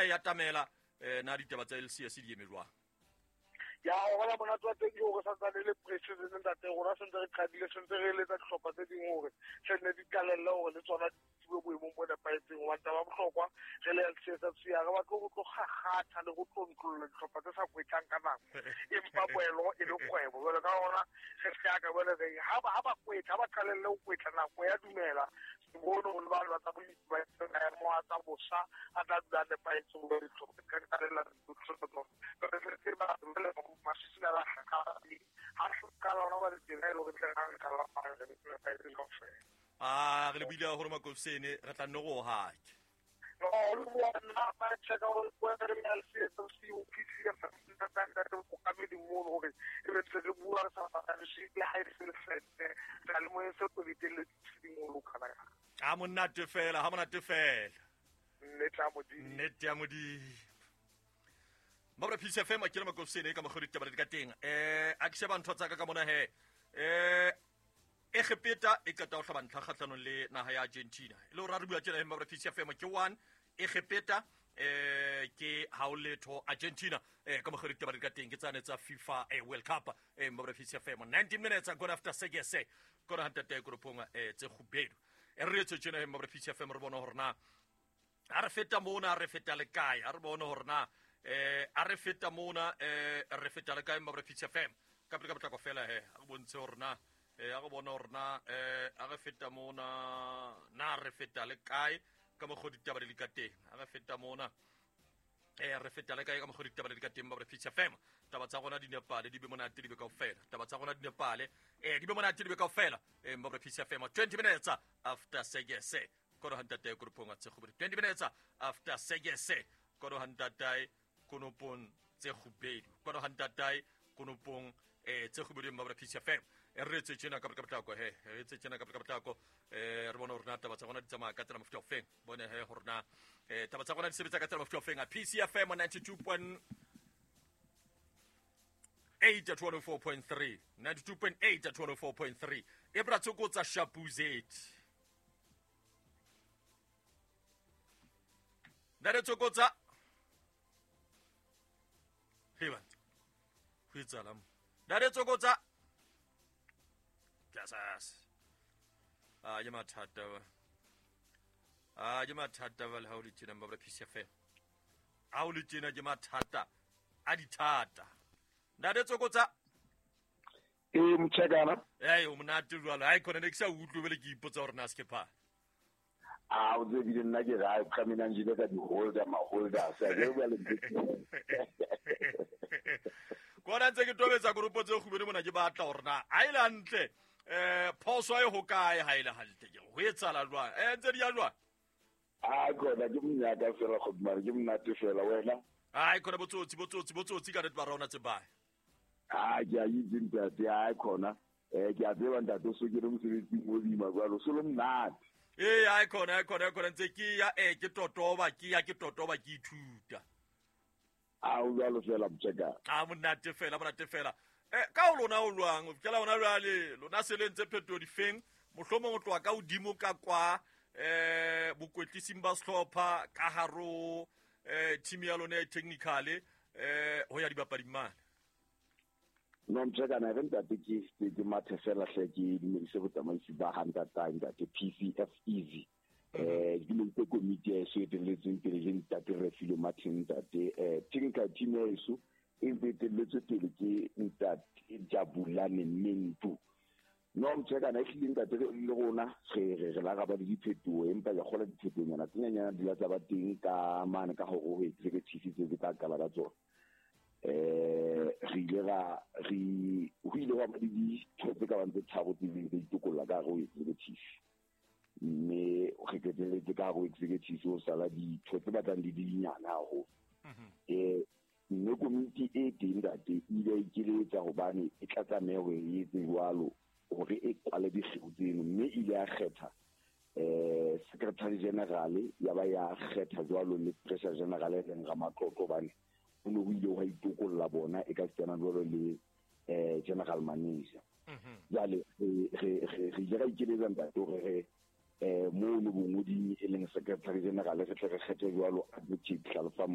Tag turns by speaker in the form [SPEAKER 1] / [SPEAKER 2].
[SPEAKER 1] e atamela na ditaba tsa LCS di eme jwang?
[SPEAKER 2] Ya o bona monate wa teng ke hore santsane le preseason ntate, rona sentse re qadile, sentse re eletsa dihlopha tse ding hore se nne di qalelle hore le tsona di tsebe boemong bo nepahetseng. Hobane taba ya bohlokwa re le LCS FC ha re batle ho tlo kgakgatha le ho tlontlolla dihlopha tse sa kwetlang ka nako, empa boelo e le kgwebo. Jwale ka hona re hlaka jwale re ha ba kwetla, ha ba qalelle ho kwetla, nako ya dumela bone ho le ba tsa bolemi ba maemo a tsa bosa a tla dula a nepahetse hore dihlopha di ka qalella
[SPEAKER 1] a re le buile haholo Makofsene, re tla nne go hake. A monate fela, ha monate fela. Nnete ya Modimo. Mabra Peace FM a kile Makofsene ka mokgwa ditaba di ka teng. A ke sheba ntho tsa ka mona he. Egepeta e qeta ho hlaba ntlha kgahlanong le naha ya Argentina. E le hore re bua tjena Mabra Peace FM ke 1 Egepeta ke haoletho Argentina ka mokgwa ditaba di ka teng ke tsane tsa FIFA World Cup Mabra Peace FM 19 minutes gone after 6 kona hantate koropong tse kgubedu. Re etse tjena Mabra Peace FM re bona hore na a re feta mona re feta le kae, a re bone hore na a re feta mona re feta le kae Mabra Peace FM ka pele ka potlako fela he a re bontshe hore na a re bone hore na a re feta mona na re feta le kae ka mokgwa ditaba di le ka teng, a re feta mona re feta le kae ka mokgwa ditaba di le ka teng Mabra Peace FM. Taba tsa rona di nepale, di be monate, di be kaofela. Taba tsa rona di nepale, di be monate, di be kaofela. Mabra Peace FM 20 minutes after 6 kono hantate koropong tse kgubedu. 20 minutes after 6 kono hantate konopong tse kgubedu. Kono hantate konopong tse kgubedu Mabra Peace FM. Re etse tjena ka potlako he, re etse tjena ka potlako re bone hore na taba tsa rona di tsamaya ka tsela mofuta ofeng. Bone he hore na taba tsa rona di sebetsa ka tsela mofuta ofeng. A Peace FM 92.8 at 104.3, 92.8 at 104.3. E bra tsokotsa Shapuzet. Nare tsokotsa. Heba. Ho etsala mo. Nare tsokotsa. Jasas. A ke mathata ba. A ke mathata ba le ha o le tjena Mabra Peace FM. Ha o le tjena ke mathata a dithata. Nare tsokotsa.
[SPEAKER 3] Motjhekana.
[SPEAKER 1] O monate jwalo. Hai khona ne ke sa utlwe bele ke ipotsa hore na se ke pha.
[SPEAKER 3] A o tsebile nna ke ra ka mina njile ka di holder ma holder sa ke bua le
[SPEAKER 1] Kona ntse ke tobetsa group tse kgubedi mona ke batla hore na ha ile hantle phoso e ho kae ha ile hantle ke ho etsala jwang ntse di ya jwang?
[SPEAKER 3] A khona ke monyaka fela go mara ke monate fela wena.
[SPEAKER 1] Ai khona botsotsi ka re ba rona tse ba.
[SPEAKER 3] A ke a itse ntate, ai khona ke a tseba ntate o so ke re mosebetsing o boima jwalo so le monate.
[SPEAKER 1] Ai khona ntse ke ya ke totoba ke ya ke totoba ke ithuta.
[SPEAKER 3] A o jwalo fela motjeka.
[SPEAKER 1] A monate fela. Ka o lona o lwang, o fihlela hona jwale lona se le ntse phetoho difeng, mohlomong o tloha ka hodimo ka kwa bokwetlising ba sehlopha ka haro team ya lona e technical ho ya dibapading mane.
[SPEAKER 3] No motjeka na re ntate ke mathe fela hle ke dumedise botsamaisi ba ha ntate PCF Easy. Ke dumedise komiti ya eso e etelletsweng pele ke ntate Refilwe Martin ntate. Technical team ya eso e ntse etelletswe pele ke ntate Jabulane Mentu. No motjeka na ehlile ntate le rona re la ra ba le diphetoho empa ke kgola diphetohonyana tse nyenyana di la tsa ba teng ka mane ka hore ho executive tse tsa qala ka tsona. Re ile ra re ho ile hwa ba le ditho tse ka bang tse tharo tse ileng tsa itokolla ka hare ho executive. Mme re qetelletse ka hare ho executive ho sala ditho tse batlang di le dinyane haholo. Mme komiti e teng ntate e ile ya ikeletsa hobane e tla tlameha hore e etse jwalo hore e kwale dikgeo tseno, mme e ile ya kgetha secretary general ya ba ya kgetha jwalo le treasurer general e leng Ramatlotlo hobane ho ne ho ile hwa itokolla bona e ka setsana jwalo le general manager. Jwale re ile ra ikeletsa ntate hore re mono bongoding e leng secretary general re tle re kgethe jwalo advocate Hlalofa